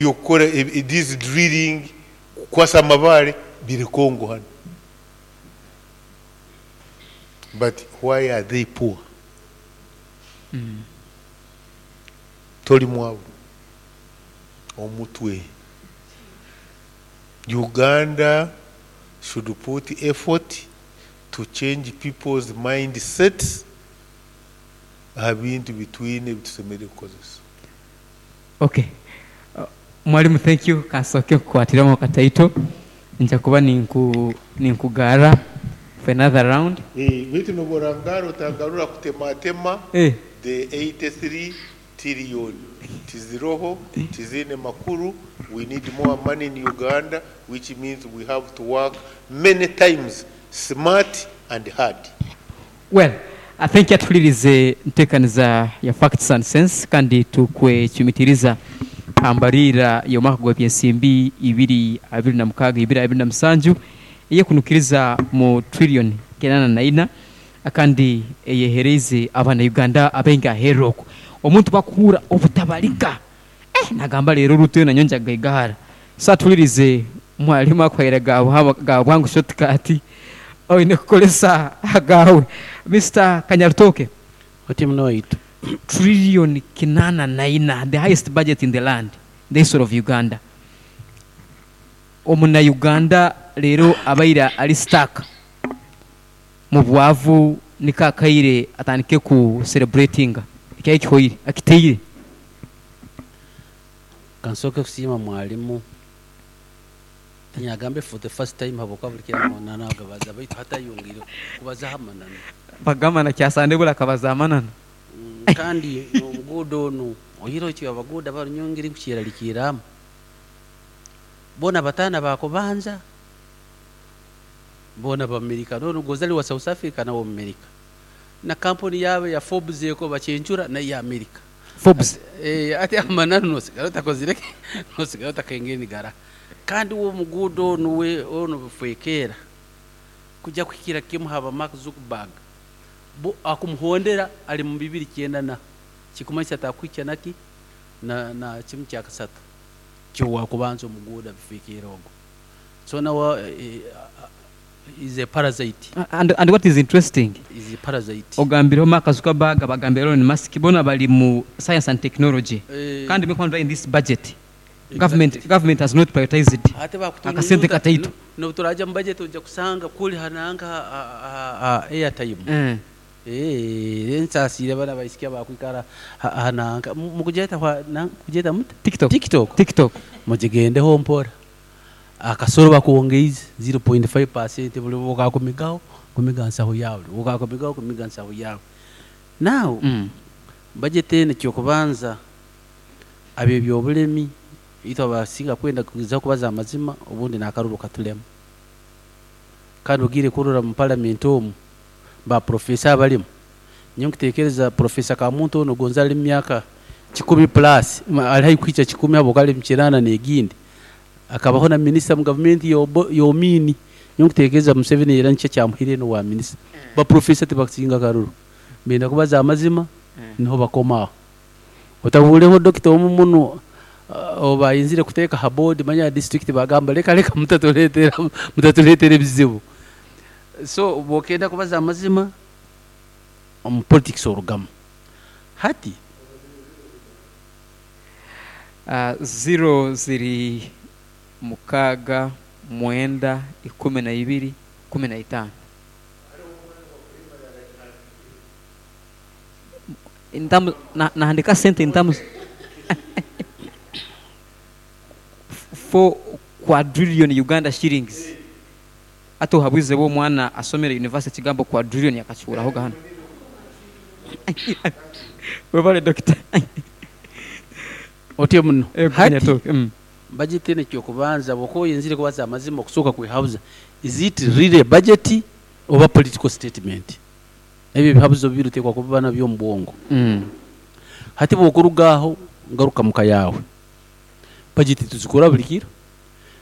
Eby'okukora these drilling, kukwasa amabaare biri Congo hanu. But why are they poor? Toli mwavu, omutwe. Uganda should put effort to change people's mindsets aha bintu bitwine ebitusemeriire kukozesa. Ok mwalimu thank you kansooke nkukwatiremu akataito nja kuba ninkugarra for another round. Beitu nobu orangarra otangarura kutematema the 83 tillion tiziroho, tiziine makuru, we need more money in Uganda which means we have to work many times smart and hard. Well thank you atuhulirize ntekaniza ya Facts and Sense kandi tukwecumitiriza aha mbariira y'omwaka gwa byensimbi ibiri abiri na mukaaga ibiri abiri na musanju eyekunukiriza mu trillion kinana na ina kandi eyehereize abana Uganda abaingi aheru okwo. Omuntu bwakuhura obutabalika eh nagamba leero Ruto yona nyowe nja kugaigahara. So atuhulirize mwalimu akuhaire ga bwangu short cut oine kukozesa agaawe. Mister Kanyarutooke. Oti muno waitu. Trillion kinana na ina, the highest budget in the land, in the history of Uganda. Omuna Uganda leero abaire ali stuck mu bwavu niko akaire atandike ku celebratinga ekyaye kihoire, akiteire. Kansooke kusiima mwalimu, tinyagambe for the first time habwokuba buli kiro amananu agabaza baitu hati ayongeire kubazaho amananu. Bagamba na Kyasande buli akabaza amananu. Kandi n'omuguuda onu, oihireho itwe abaguuda banu nyowe engeri nkukyeralikiirramu, boona bataana baakubanza, boona Bamerika, n'onu gonza ali wa South Africa nawe Mumerika, na kampuni yaabo eya Forbes eko bacencura nayo y'Amerika. Forbes. Hati amananu nosigara otakozire ki? Nosigara otakengere nigaraha. Kandi uwe omuguuda onu uwe onu bifwekeera kuja kuhikira kimu haba Mark Zuckerberg bo akumuhondera ali mu bibiri kyenda na kikumanyisa takuhikya naki na na kimu kyakasatu kyowakubanza omuguuda bifwekeera ogu so nawe is a parasite. And and what is interesting, Is a parasite. ogambireho Mark Zuckerberg, bagambire Elon Musk, bona bali mu science and technology kandi in this budget government government has not prioritized Ate akasente bakutunyunyuta kataito. n'obuturaja mu budget oija kusanga kuli ha nanka ha airtime. Eeh nsaasiire banu abaisiki abakwikara ha nanka mukugyeta mukugyeta muta? TikTok. TikTok. TikTok. Mugigendeho mpora. Akasoro bakwongeize 0.5% buli bwokakumigaho kumiga nsaho yaawe, buli bwokakumigaho kumiga nsaho yaawe. Now budget enu ekyokubanza ab'ebyobulemi itwe abasinga kwenda kugezaho kubaza amazima obundi n'akaruru katulema. Kandi ogiire kurora mu parliament omu ba professor abalimu, nyowe nkutekereza Professor Kamuntu onu gonza ali mu myaka kikumi plus, ali haihi kuhikya kikumi habwokuba ali mu kinaana n'egindi, akabaho na minisita mu gavumenti y'Omini. Nyowe nkutekereza Museveni era nikyo ekyamuhaire enu obwa minisita. Ba professor tibakusinga karuru, benda kubaza amazima niho bakoma aho. Otahuureho dokita omu muno ou baayenzire kuteeka ha board manya ya district baagamba leka leka mutatuleetera mutatuleetera ebizibu. So obu okenda kubaza amazima omu politics orugamu. Hati. Ziro ziri mukaaga, mwenda, ikumi na ibiri, ikumi na itaano. In terms, nahandika sente in terms 4 quadrillion Uganda shillings. Hati ohabwize bwo omwana asomere university ekigambo quadrillion yakakihurahoga hanu. Webale Dokita. Otyo muno. Ego Hati Kanyatooke. Budget enu ekyokubanza bwokuba oyenzire kubaza amazima okusooka kwehabuza is it really a budget oba political statement? Ebyo ebihabuzo bibiri otekwa kuba nabyo omu bwongo. Hati bwokuruga aho ngaruka muka yaawe. Budget tuzikora buli kiro.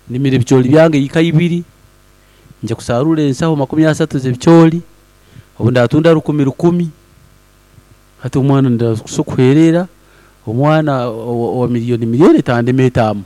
Ndimire ebicooli byange eka ibiri, nja kusarura ensaho makumi asatu z'ebicooli, obu ndatunda rukumi rukumi, hati omwana ndakusa kuherera. Omwana wa miliyoni 500 tandema etamu.